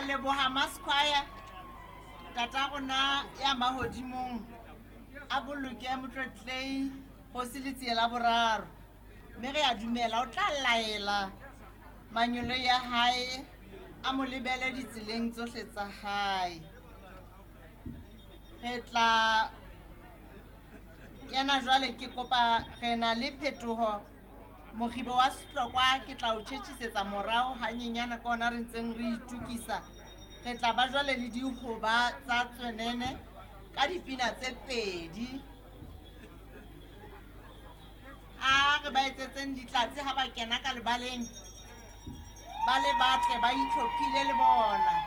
a leboha Masquire, tata rona ya mahodimong, a boloke Motlotlei Kgosi Letsie la Boraro. Mme re a dumela o tla laela manyolo ya hae a mo lebele ditseleng tsohle tsa hae. Re tla kena jwale, ke kopa re na le phetoho mokgibo wa sehlokwa, ke tla o tjhetjhisetsa morao hanyenyana ka ona re ntseng re itukisa. Re tla ba jwale le dihoba tsa tswenene ka dipina tse pedi. A re ba etsetseng ditlatse ha ba kena ka lebaleng, ba le batle ba itlhophile le bona.